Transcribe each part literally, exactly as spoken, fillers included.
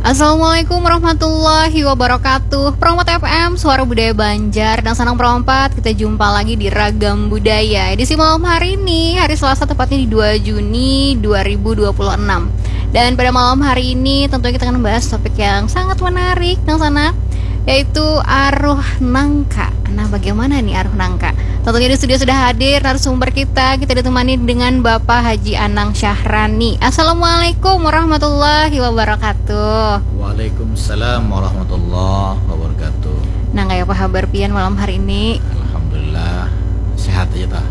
Assalamualaikum warahmatullahi wabarakatuh. Perompat F M, Suara Budaya Banjar. Dan senang perompat, kita jumpa lagi di Ragam Budaya. Edisi malam hari ini, hari Selasa, tepatnya di dua Juni dua ribu dua puluh enam. Dan pada malam hari ini, tentunya kita akan membahas topik yang sangat menarik, dan sana, yaitu aruh nangka. Nah, bagaimana nih aruh nangka? Tentunya di studio sudah hadir narasumber kita. Kita ditemani dengan Bapak Haji Anang Syahrani. Assalamualaikum warahmatullahi wabarakatuh. Waalaikumsalam warahmatullahi wabarakatuh. Nah, kayak apa kabar pian malam hari ini? Alhamdulillah, sehat aja tah.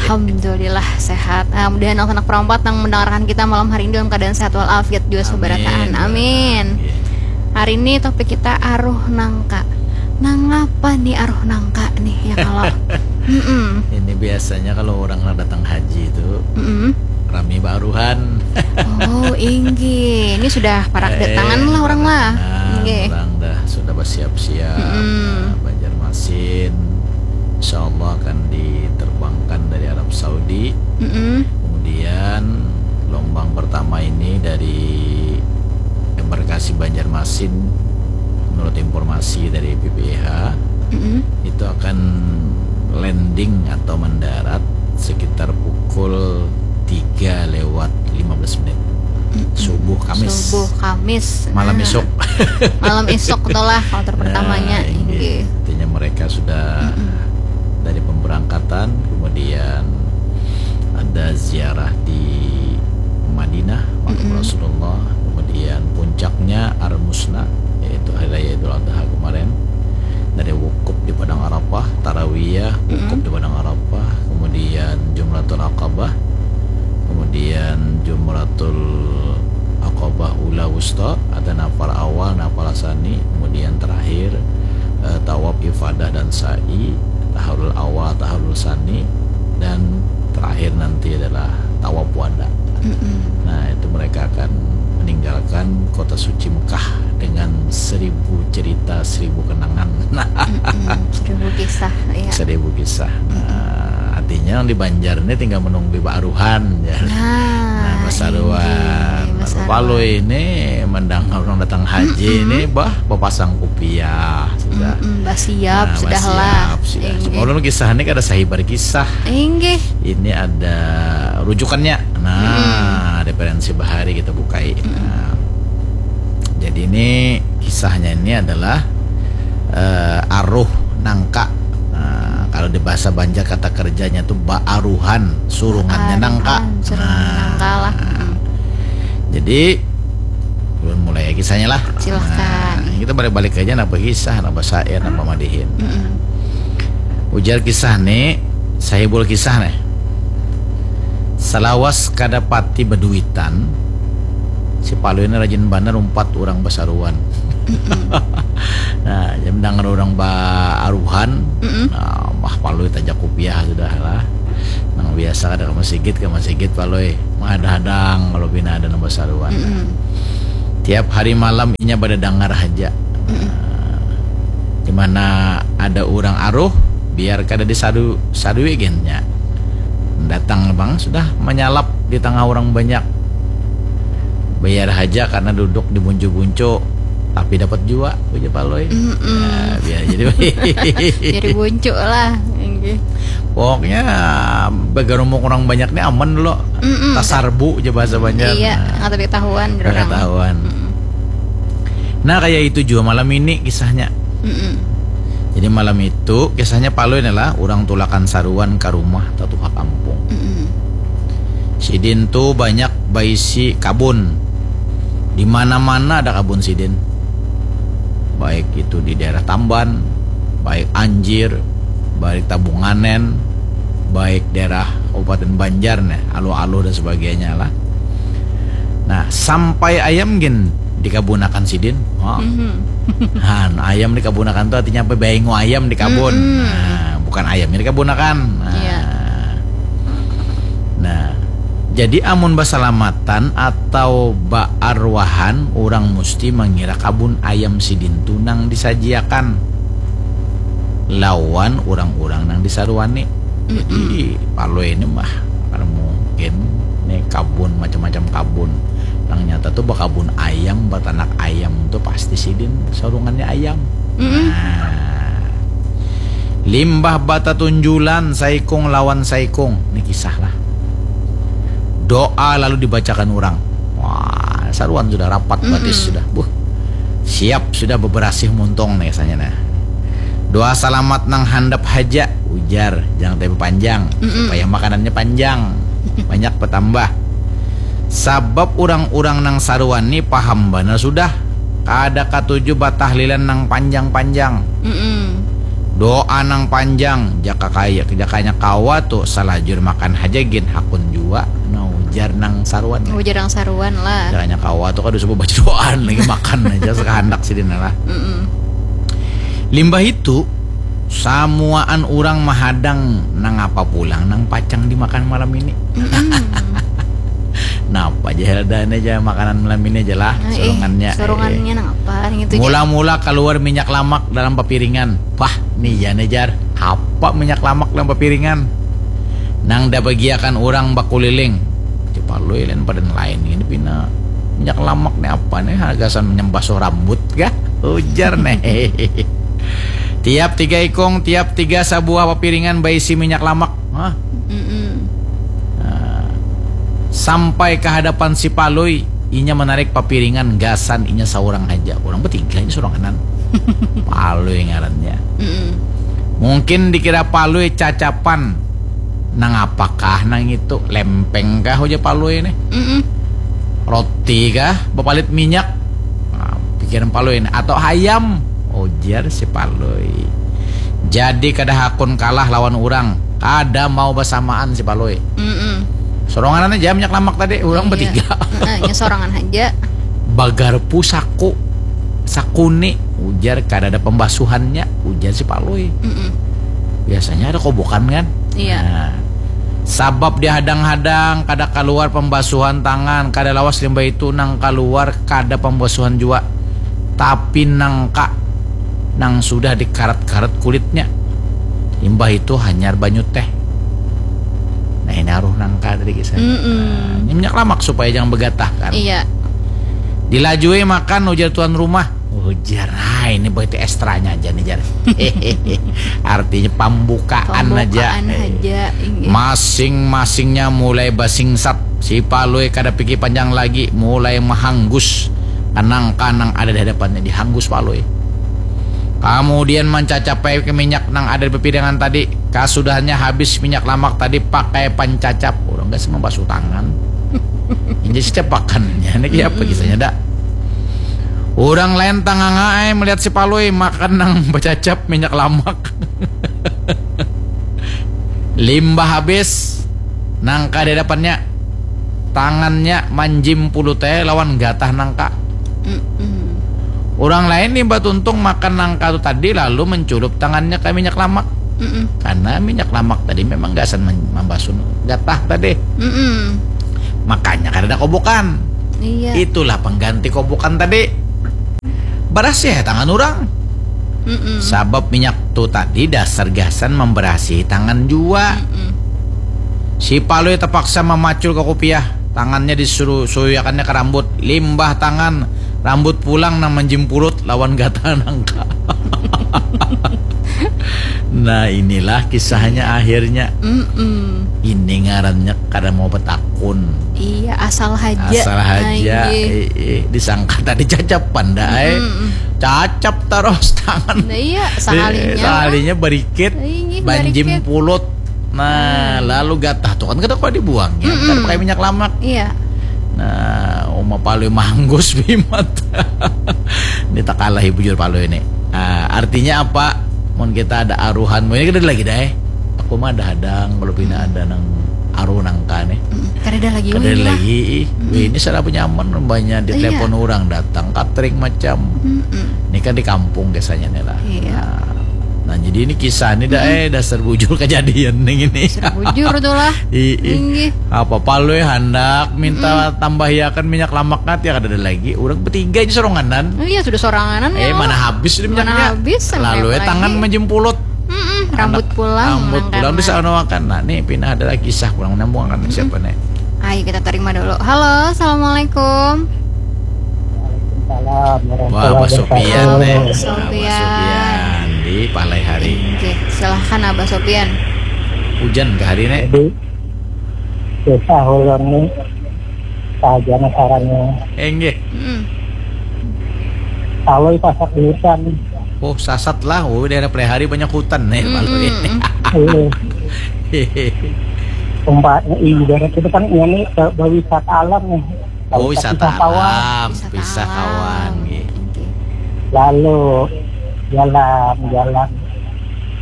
Alhamdulillah sehat. Ah, mudahan anak perompat yang mendengarkan kita malam hari ini dalam keadaan sehat walafiat juga seberataan. Amin. Amin. Hari ini topik kita aruh nangka. Nangapa nih aruh nangka nih ya kalau? Mm-mm. Ini biasanya kalau orang nak datang haji itu Mm-mm. rami baaruhan. Oh, inggih. Ini sudah parak datangan lah orang lah. Inggih. Orang dah sudah bersiap-siap. Mm-mm. Nah, Banjarmasin insya Allah akan diterbangkan dari Arab Saudi. Mm-mm. Kemudian gelombang pertama ini dari embarkasi Banjarmasin, menurut informasi dari B P H, Mm-mm. itu akan landing atau mendarat sekitar pukul tiga lewat lima belas menit. Mm-mm. Subuh Kamis. Subuh Kamis. Malam Nah. esok. Malam esok itulah kloter pertamanya. Nah, inggih. Inggih. Artinya mereka sudah Mm-mm. dari pemberangkatan, kemudian ada ziarah di Madinah, makam Mm-mm. Rasulullah, kemudian puncaknya Al-Musna, yaitu Hari Raya Idul Adha kemarin. Ada wukuf di Padang Arafah, tarawiyah, wukuf Mm-mm. di Padang Arafah, kemudian Jumratul Aqabah, kemudian Jumratul Aqabah Ula Wusta, ada nafar awal, nafar sani, kemudian terakhir, eh, tawaf ifadah dan sa'i, tahallul awal, tahallul sani, dan terakhir nanti adalah tawaf wada. Mm-mm. Nah, itu mereka akan meninggalkan kota suci Mekah dengan seribu cerita, seribu kenangan. Mm-mm. Seribu kisah, ya. Seribu kisah. Mm-mm. Nah, artinya yang di Banjar ini tinggal menunggu baaruhan, ya. Nah, Nah, basaruan. Inggih, basaruan. Palui ini mendengar orang datang haji Mm-mm. ini, bah, bapasang kupiah sudah. Mm-mm, basiap Nah, sudah lah. Basiap sudah. Inggih. Cuma ulun kisah ini kada sahibar kisah. Inggih. Ini ada rujukannya. Nah, Mm-mm. referensi bahari kita bukai. Mm-mm. Nah, jadi ini kisahnya ini adalah, eh, aruh nangka. Nah, kalau di bahasa Banjar kata kerjanya tuh baaruhan, surungannya nangka. Baaruhan, surungan Nah. nangka lah. Mm-mm. Jadi, ulun mulai ya kisahnya lah. Silahkan. Nah, kita balik-balik aja napa kisah, napa syair, napa madihin. Mm-mm. Ujar kisah nih, sahibul kisah nih. Salawas kada pati baduitan, si Palui ini rajin banar umpat urang basaruan. Mm-mm. Nah, jadi mendangar urang baaruhan, Mm-mm. nah, bah Palui tajak kupiah sudah lah. Nang biasa kada ka masigit, ka masigit Palui. Menghadang-hadang kalau pina ada nang basaruan. Mm-mm. Tiap hari malam inya badadangar haja. Mm-mm. Nah, di mana ada urang aruh, biar kada disadu-, sadui gennya. Datang bang sudah manyalap di tengah urang banyak. Bayar haja karena duduk di buncu-buncu, tapi dapat jua, ujar Palui. Mm-mm. Ya, biar jadi Jadi buncu lah. Inggih. Pokoknya bagarumuk urang banyak ni aman dulu. Mm-mm. Tasarbu aja bahasa Banjar. Iya, nah. Kada ketahuan. Kada ketahuan. Mm-mm. Nah, kayak itu juga malam ini kisahnya. Mm-mm. Jadi malam itu kisahnya Palui ni lah, urang tulakan saruan ka rumah tatuha kampung. Mm-mm. Sidin tu banyak baisi kabun. Di mana-mana ada kabun sidin. Baik itu di daerah Tamban, baik Anjir, baik Tabunganen, baik daerah Kabupaten Banjar nih, Aluh-Aluh dan sebagainya lah. Nah, sampai ayam gin dikabunakan sidin. Oh. Mhm. Han, ayam dikabunakan tu artinya apa? Baingu ayam di kabun. Mm-mm. Nah, bukan ayamnya dikabunakan. Nah. Iya. Nah, jadi amun basalamatan atau baarwahan, urang musti mangira kabun ayam sidin tu nang disajiakan lawan urang-urang nang disaruani. Jadi, mm-mm, Palui ini mah, kada mungkin ni kabun, macam-macam kabun. Nang nyata tu bakabun ayam, batanak ayam tu pasti sidin sarungannya ayam. Mm-mm. Nah, limbah batatunjulan saikung lawan saikung, ni kisah lah. Doa lalu dibacakan urang. Wah, saruan sudah rapat. Mm-mm. Batis sudah. Buh. Siap sudah beberasih muntung nih rasanya nah. Doa salamat nang handap haja, ujar, jangan tapi panjang, mm-mm, supaya makanannya panjang, banyak bertambah. Sabab urang-urang nang saruan ni paham banar sudah, kada katuju batahlilan nang panjang-panjang. Mm-mm. Doa nang panjang, jaka kaya, jakanya kawa tu salajur makan haja gin hakun jua, nah ujar nang saruan. Ujar nang saruan lah. Jakanya kawa tu kada usah babaca doaan lagi, makan aja sakahandak sidin lah. Mm-mm. Limbah itu, samuaan urang mahadang nangapa pulang nang pacang dimakan malam ini. Mm-mm. Napa aja heladaan aja makanan malam ini aja lah, nah, eh, surungannya. Surungannya eh, nangapa gitu. Mula-mula keluar minyak lamak dalam papiringan. Wah, nih ya nih jar. Apa minyak lamak dalam papiringan? Nang dabagiakan urang bakuliling. Cipalui lain pada lain ini pina minyak lamak nih apa nih? Hagasan menyembasuh rambut kah? Ujar nih. Tiap tiga ikung, tiap tiga sabuah papiringan baisi minyak lamak. Hah? Mm-mm. Nah, sampai ke hadapan si Palui, inya menarik papiringan gasan inya seorang aja. Orang bertiga ini seorang kanan. Palui ngarannya. Mm-mm. Mungkin dikira Palui cacapan. Nang apakah nang itu? Lempeng kah ujar Palui ini? Mm-mm. Roti kah? Bapalit minyak. Nah, pikiran Palui ini. Atau hayam? Ujar si Palui. Jadi kada hakun kalah lawan urang. Kada mau basamaan si Palui. Mm-mm. Soronganan aja minyak lamak tadi, urang iya, bertiga. Heeh, nya sorangan aja. Bagarpu saku, sakuni, ujar kada ada pembasuhannya, ujar si Palui. Mm-mm. Biasanya ada kobokan kan? Iya. Nah, sabab dihadang-hadang, kada kaluar pembasuhan tangan, kada lawas limbah itu nang kaluar kada pembasuhan jua. Tapi nangka nang sudah dikarat-karat kulitnya. Limbah itu hanyar banyu teh. Nah, ini aruh nangka tadi kisah. Mm-mm. Nah, ini minyak lamak supaya jangan begatah kan. Iya. Dilajui makan ujar tuan rumah. Ujar, ah ini berarti ekstranya aja nih jar. Artinya pembukaan aja. Pembukaan aja, inggih. Masing-masingnya mulai basingsat. Si Palui kada pikir panjang lagi, mulai mahanggus kanang-kanang ada di hadapannya, dihanggus Palui. Kemudian mancacapai ke minyak nang ada di pipiringan tadi. Kasudahannya habis minyak lamak tadi pakai pancacap. Orang gak sih membasuh tangan. Ini sih capakannya, ini kayak apa kisahnya dak? Orang lain tanganga ai melihat si Palui makan nang bacacap minyak lamak. Limbah habis nangka di hadapannya, tangannya manjimpulut ai lawan gatah nangka. Mm-mm. Orang lain limbah tuntung makan nangka tu tadi lalu menculup tangannya ke minyak lamak. Mm-mm. Karena minyak lamak tadi memang gasan men- membasuh gatah tadi. Mm-mm. Makanya kada ada kobokan. Iya. Itulah pengganti kobokan tadi. Barasih ya tangan orang. Mm-mm. Sabab minyak tu tadi dasar gasan memberasihi tangan jua. Mm-mm. Si Palui terpaksa memacul ke kupiah. Tangannya disuruh suyuyakannya ke rambut. Limbah tangan, rambut pulang nang menjimpulut lawan gatal nangka. Nah, inilah kisahnya akhirnya. Mm-mm. Ini ngarannya kada mau betakun. Iya, asal haja. Asal haja. Nah, iya. Eh, eh, disangka tadi cacapan dah, eh. Mm-mm. Cacap terus tangan. Nah, iya, sahalinya. Eh, sahalinya berikit, nah, iya, banjim berikit. Pulut. Nah, hmm. Lalu gatah tuh kan kada kau dibuang ya, mm-mm. Kada pakai minyak lamak. Iya. Nah, uma Palui manggus bimat. Ini tak kalah ibu jur Palui ini. Nah, artinya apa? Mun kita ada aruhan, ini kada lagi dah eh. Aku mah ada hadang kalau pina ada nang aruh nangka nih. Mm, kada ada lagi. Kada ada lagi. Ih. Mm. Wih, ini salah penyaman banyak di telepon orang datang catering macam. Mm-mm. Ini kan di kampung biasanya nih lah. Iya. Nah, nah, jadi ini kisah nih dah eh dasar bujur kejadian nih ini. Dasar bujur tuh lah. Ih, ih. Apa Palui handak minta tambahiakan minyak lamak nanti ya kada ada lagi. Orang bertiga aja soronganan. Oh iya sudah soranganan. Eh ya. Mana habis di minyaknya. Mana habis. Lalu ya tangan menjempulut. Mm-mm, rambut pulang. Rambut pulang di sana makan. Nah, nih pina ada lagi kisah pulang nyambung akan siapa nih? Ayo kita terima dulu. Halo, assalamualaikum. Wah, Abah Sopian, eh. Abah Sopian di Palai Hari. Oke, silahkan Abah Sopian. Hujan ke hari ini? Jadi, susah ulun ni. Saja sarannya. Enggih. Mm. Kalau sasak di hutan. Oh, sasat lah. Oh, daerah Palai Hari banyak hutan nih, mm-mm, kalau ini. Iya. Tempat ibarat itu kan ini ke berwisata alam nih. Oh, wisata alam, wisata kawan, nggih. Lalu jalan-jalan.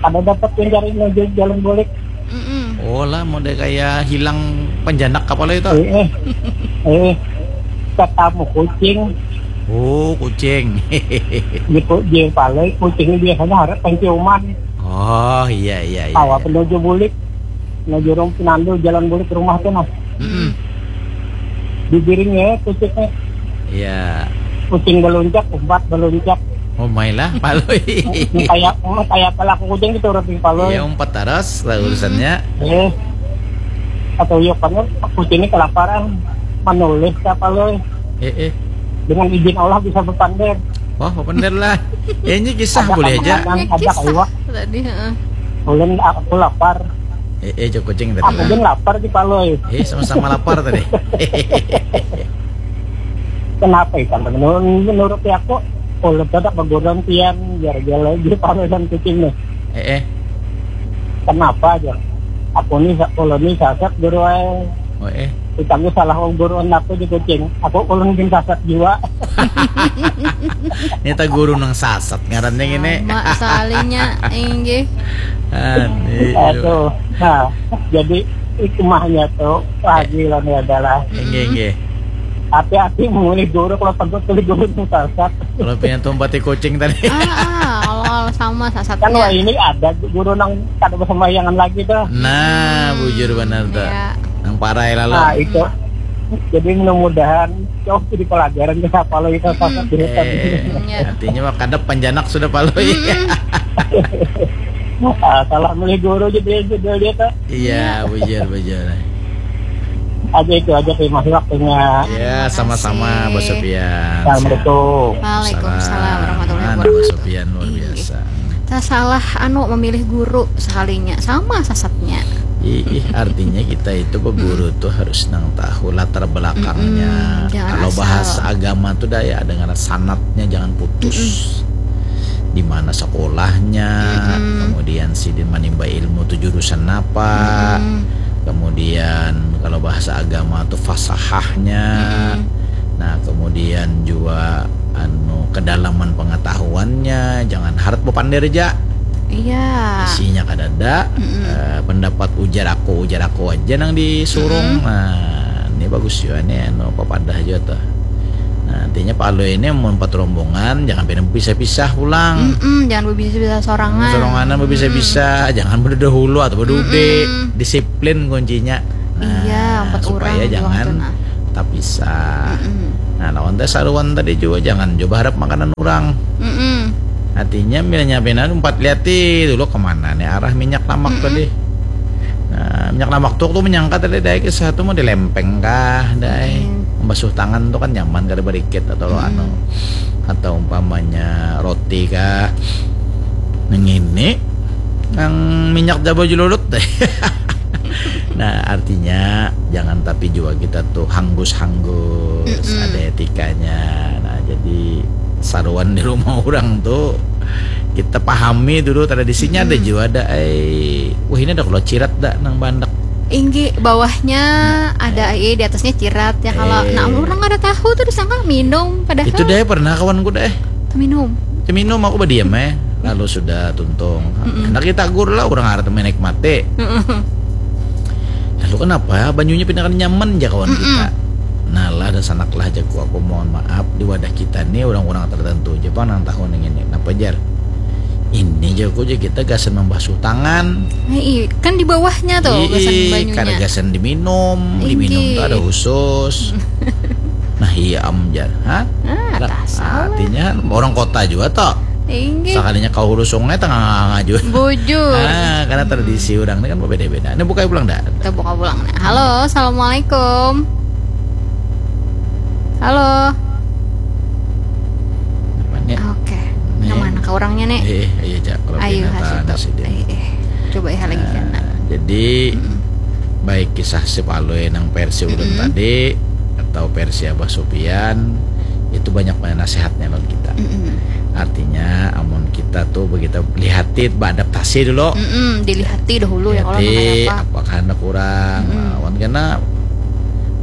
Kada dapat mencari menuju jalan balik. Mm-mm. Oh lah, model kayak hilang penjanak kapala itu. Eh, eh. Eh, ketemu kucing. Oh, kucing. Di kucing paling, kucing biasanya harap penciuman. Oh, iya, iya, iya. Awak menuju bulik. Nah, jurung pinandu jalan balik ke rumah tuh, nah. Mm-mm. Digiringnya ya, kucingnya. Iya. Kucing beluncak, umpat beluncak. Oh, mailah, Palui. Kayak, oh, kayak pelaku kucing gitu, orang Palui. Iya, umpat taras lah urusannya. Eh, atau iya kan, kucingnya kelaparan, menulis ke Palui. Eh, eh. Dengan izin Allah bisa berpander. Wah, berpander lah. Ya, ini kisah boleh aja. Ada kisah tadi, heeh. Ulun, aku lapar. Eh, eh, cok kucing tadi. Aku pun lapar di Palui. Eh, sama-sama lapar tadi. Kenapa ikan? Menurut, menurut aku, ulun tetap bergurau pian, biar dia lagi Palui dan kucing nih. Eh, eh. Kenapa aja? Aku nih, ulun nih sasak guru ai. Oh, eh. Kita gue salah guru aku di kucing. Aku ulun bin sasak jiwa. Ini tak guru nang sasat ngarannya gini. Sama sekalinya, inggih. Aduh. Nah, jadi hikmahnya tuh, Pak Haji, lo nih adalah hati-hati memilih guru kalau tempat pilih guru itu sasat. Kalau punya tumpati kucing tadi. Ah, ah, kalau, kalau sama sasatnya. Kan wah, ini ada guru nang kada bersembayangan lagi tuh. Nah, bujur benar tuh. Iya. Nang parai lalu. Nah, itu. Jadi mudah-mudahan jauh jadi pelajaran ke siapa lagi, sasat di hutan. Eh, artinya mah kadap panjanak sudah Palui. Ah, salah milih guru jadi judul dia tuh. Iya, bujur, bujur. Aja itu aja, terima kasih waktunya. Ya, sama-sama, Bos Sofian. Assalamualaikum. Waalaikumsalam warahmatullahi wabarakatuh. Bos Sofian luar biasa. Kita salah anu memilih guru sekalinya, sama sasatnya. Ih, artinya kita itu beguru tuh harus nang tahu latar belakangnya. Mm-mm, jangan asal. Kalau bahas agama tuh dah ya, dengan sanatnya jangan putus. Mm-mm. Di mana sekolahnya, mm-mm, kemudian sidin manimba ilmu tuh jurusan apa, mm-mm, kemudian kalau bahasa agama tuh fasahahnya, mm-mm, nah, kemudian juga anu kedalaman pengetahuannya, jangan harat bepander aja. Iya. Isinya kadada, mm-mm, eh, pendapat ujar aku, ujar aku aja nang disurung. Mm-mm. Nah, ini bagus juga nih, anu, papadah juga tuh. Nah, artinya Palui ini mun empat rombongan, jangan pina berpisah-pisah pulang. Mm-mm, jangan berpisah-pisah sorangan. Soranganan berpisah-pisah, mm-mm, jangan berdahulu atau berdude. Mm-mm. Disiplin kuncinya. Nah, iya, empat supaya orang jangan tuh, nah, tapisah. Mm-mm. Nah, lawan teh saruan tadi juga, jangan juga berharap makanan orang. Mm-mm. Artinya, milanya pina umpat liati dulu kemana nih arah minyak lamak, mm-mm, tadi. Nah, minyak lamak tuh, tuh menyangka tadi dai kisah tuh mau dilempeng kah, dai. Mm-mm. Membasuh tangan tuh kan nyaman kada berikit atau lo, mm-mm, anu. Atau umpamanya roti kah. Nang ini, nang minyak jaba jululut deh. Nah, artinya jangan tapi juga kita tuh hanggus-hanggus, mm-mm, ada etikanya. Nah, jadi saruan di rumah orang tuh kita pahami dulu tradisinya, ada, mm-mm, juga ada, eh, wah, ini ada kalau cirat dah nang bandak. Inggih, bawahnya ada, eh, di atasnya cirat ya kalau. Eh. Nah, orang kada tahu tuh disangka minum padahal. Itu deh pernah kawanku deh. Minum. Minum aku berdiam eh. Lalu sudah tuntung. Mm-mm. Anak kita gur lah, orang harus menikmati. Mm-mm. Lalu kenapa banyunya pina kada nyaman ja kawan, mm-mm, kita? Nah lah, dan sanak lah jaku aku, mohon maaf, di wadah kita nih orang-orang tertentu aja pang nang tahu nih ini. Kenapa, jar? Ini jaku aja kita gasan membasuh tangan. Nah, iya, kan di bawahnya tuh gasan banyunya. Kada gasan diminum, diminum tuh ada khusus. Nah, iya am, jar. Hah? Ah, artinya orang kota juga toh. Inggih. Sakalinya kau hulu sungai tengah ngaju. Bujur. Nah, karena tradisi orang ini kan berbeda-beda. Ini buka pulang dah. Kita buka pulang. Nah, halo, assalamualaikum. Halo. Ka urangnya nih. Eh, eh, iya, Jak. Kalau Ayu, pina ha, tahan situ. Sidin. Eh, eh. Coba ya lagi. Nah, kena. Jadi, mm-mm, baik kisah si Palui nang versi ulun, mm-mm, tadi atau versi Abah Supian, itu banyak banget nasihatnya lawan kita. Mm-mm. Artinya, amun kita tuh begitu lihati, beadaptasi dulu. Mm-mm, dilihati dahulu ya, kalau nang kaya apa. Apakah handak kurang? Mm-mm. Nah, wan kena,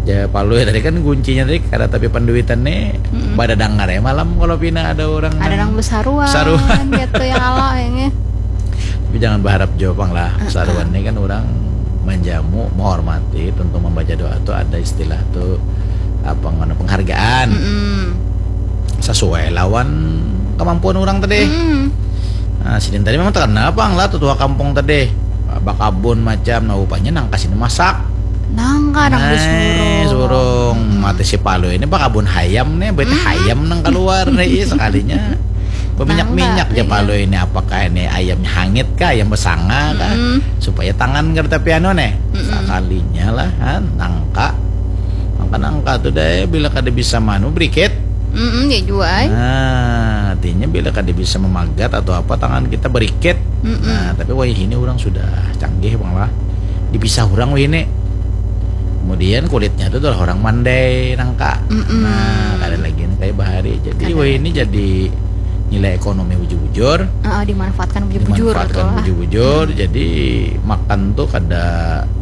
ja, Palui tadi kan kuncinya tadi kada tapi panduitan nih, mm-mm, pada dangar ya malam kalau pina ada orang ada nang besaruan, besaruan gitu ya, kalau kayaknya. Tapi jangan berharap jua pang lah. Heeh. Saruan ni kan orang manjamu, menghormati, tentu membaca doa tu ada istilah tu apa ngaran, penghargaan. Mm-mm. Sesuai lawan kemampuan orang tadi. Mm-mm. Nah, sidin tadi memang terkenal pang lah tutua kampung tadi. Bakabun macam, nah rupanya nangka sidin masak. Nangka nang nah, disurung. Surung. Mm-mm. Mati si Palui ini bakabun hayam nih, bete, mm-mm, hayam nang keluar nih, iya, sekalinya. Berminyak-minyak ja, iya, Palui ini, apakah ini ayamnya hangit kah, ayam besanga kah? Mm-mm. Supaya tangan kada tapi anu nih. Mm-mm. Sekalinya lah, ha, nangka. Maka nangka tuh deh, bila kada bisa manu, berikit. Mm-mm, ya jua, ai. Nah, artinya bila kada bisa memagat atau apa, tangan kita berikit. Mm-mm. Nah, tapi wayah ini orang sudah canggih pang lah. Dipisah orang wayah ini. Kemudian kulitnya itu adalah orang mandai nangka. Mm-mm. Nah, kada lagi nang kayak bahari. Jadi, kada wayah ini lagi. Jadi nilai ekonomi bujur-bujur. Heeh, dimanfaatkan bujur-bujur, dimanfaatkan betul lah. Bujur-bujur. Hmm. Jadi, makan tuh kada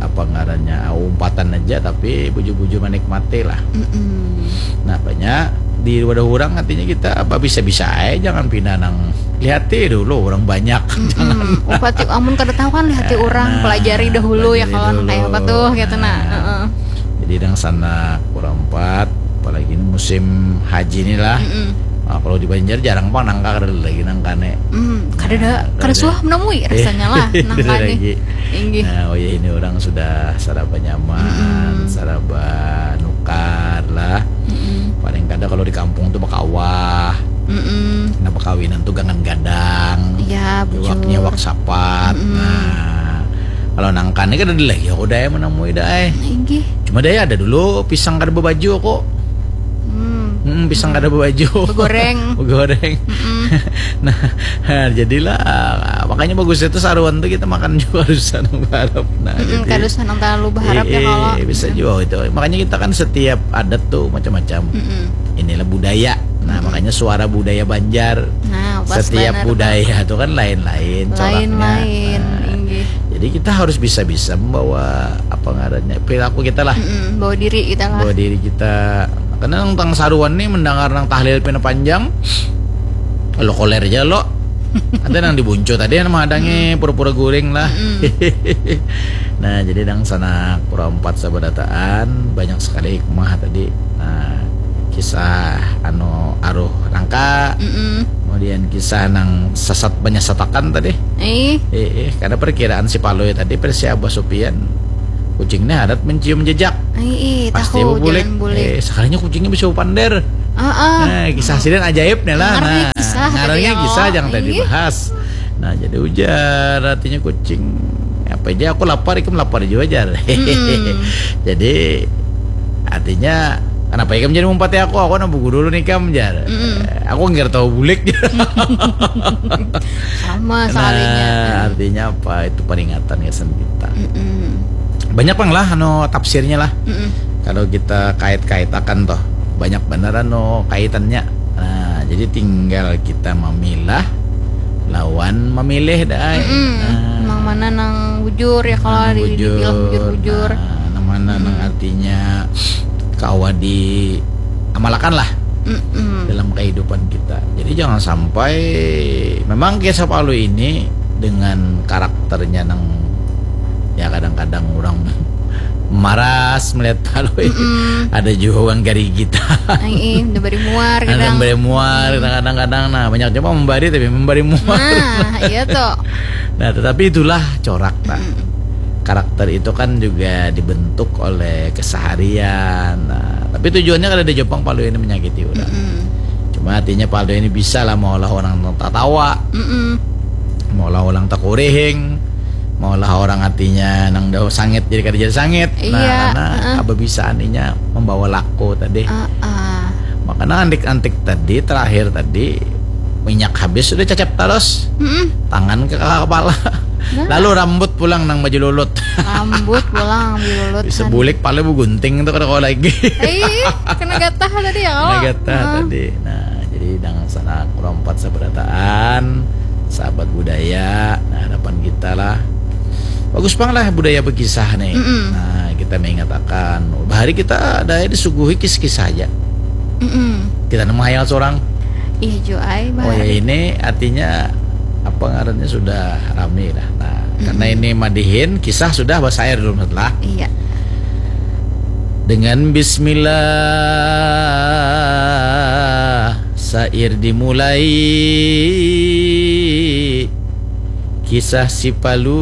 apa ngarannya, umpatan aja, tapi bujur-bujur menikmati lah. Mm-mm. Nah, banyak di wadah orang, artinya kita apa bisa-bisa aja, jangan pina nang lihati dulu orang banyak. Mm-mm. Jangan. Upati, amun kada tahu kan lihati orang, nah, pelajari dahulu ya, pelajari kalau nang dulu. Kayak apa tuh, gitu, nah. Nah. Heeh. Jadi nang sanak kurang empat, apalagi ini musim haji ni lah. Mm-mm. Nah, kalau di Banjar jarang pang nangka, kada lagi nangka nih. Mm, kada ada, nah, kada ada. Suah menemui rasanya lah, eh, nangka nih. Lagi. Inggih. Nah, oh ya, ini orang sudah saraba nyaman, mm-mm, saraba nukar lah. Mm-mm. Paling kada kalau di kampung tuh bakawah. Mm-mm. Nah, bakawinan tuh gangan gadang. Iya, bujur. Iwaknya iwak sapat. Mm-mm. Nah, kalau nangka ni kada ada lagi aku daya menemui daya. Inggih. Cuma daya ada dulu pisang kada berbaju aku. Hmm. Hmm, pisang kada berbaju. Begoreng. Begoreng. Mm-mm. Nah, jadilah, makanya bagus itu saruan tuh kita makan juga harus anu berharap. Nah, mm-mm, jadi kada usah nang terlalu berharap ya, eh, kalau bisa juga itu. Makanya kita kan setiap adat tuh macam-macam. Mm-mm. Inilah budaya. Nah, mm-mm, makanya suara budaya Banjar. Nah, pas setiap banar budaya tuh kan lain-lain coraknya. Lain-lain, nah, inggih. Jadi kita harus bisa-bisa membawa apa ngarannya, perilaku kita lah. Mm-mm, bawa diri kita lah. Bawa diri kita. Karena nang tang saruan nih mendengar nang tahlil pina panjang, lo koler aja lo. Ada nang dibuncu tadi yang menghadangi, mm-mm, pura-pura guring lah. Mm-mm. Nah, jadi nang sanak kurang empat sabarataan, banyak sekali hikmah tadi. Nah, kisah anu aruh nangka, mm-mm, kemudian kisah nang sasat penyesatakan tadi. Eh. Eh, eh, karena perkiraan si Palui tadi, versi Abah Supian, kucing ni harat mencium jejak. Eh, eh, pasti tahu, bebulik. Jangan bulik. Eh, sekalinya kucingnya bisa bepander. Heeh. Nah, kisah sidin ajaib nih lah. Ngarang, nah, kisah, ngarangnya tadi, kisah, oh, jangan tadi, iya, bahas. Nah, jadi ujar artinya kucing. Apa aja aku lapar, ikam lapar juga, jar. Mm-mm. Jadi artinya kenapa ikam jadi mumpati aku? Aku nak buku dulu nih, kam, jar. Mm-mm. Eh, aku nggak tahu bulik. Sama sekalinya. Nah, artinya apa? Itu peringatan ya, sendita. Mm-mm. Banyak pang lah anu tafsirnya lah. Mm-mm. Kalau kita kait-kaitakan toh, banyak benar anu kaitannya. Nah, jadi tinggal kita memilah lawan memilih dah. Mm-mm. Nah, nang mana nang bujur ya, kalau nang di, bujur, dibilang bujur-bujur. Nah, nang mana nang, mm-mm, artinya kawa diamalakan lah, mm-mm, dalam kehidupan kita. Jadi jangan sampai, memang kisah Palui ini dengan karakternya nang ya kadang-kadang orang maras melihat Palui. Mm-mm. Ada juga orang gari kita. Ai, eh, udah bari muar kadang. Ada bari muar kadang-kadang. Nah, banyak juga membari tapi membari muar. Nah, iya tuh. Nah, tetapi itulah corak, nah. Mm-mm. Karakter itu kan juga dibentuk oleh keseharian. Nah, tapi tujuannya kada ada jua pang Palui ini menyakiti orang. Mm-mm. Cuma artinya Palui ini bisa lah maulah orang tatawa. Mm-mm. Maulah orang takurihing. Maulah orang artinya nang dah sangit jadi kada jadi sangit. Nah, iya, karena, heeh, kebabisaan inya membawa laku tadi. Heeh. Makanya antik-antik tadi, terakhir tadi, Minyak habis sudah cacap talos. Mm-mm. Tangan ke kepala. Lalu rambut pulang nang baju lulut. Rambut pulang baju lulut. Bisa bulik pala begunting tuh kada kau lagi. Eh, kena gatah tadi ya kalau. Kena gatah tadi. Nah, jadi dengan sana kurang empat seberataan sahabat budaya. Nah, harapan kita lah bagus bang lah budaya berkisah nih. Mm-mm. Nah, kita mengatakan bahari kita ada disuguhi kisah-kisah aja. Mm-mm. Kita nemu hayal seorang. Iya juai. Oh ya, ini artinya apa ngarannya sudah rame lah. Nah, mm-mm, karena ini madihin kisah sudah basair dulu lah. Iya. Dengan bismillah sair dimulai. Kisah si Palu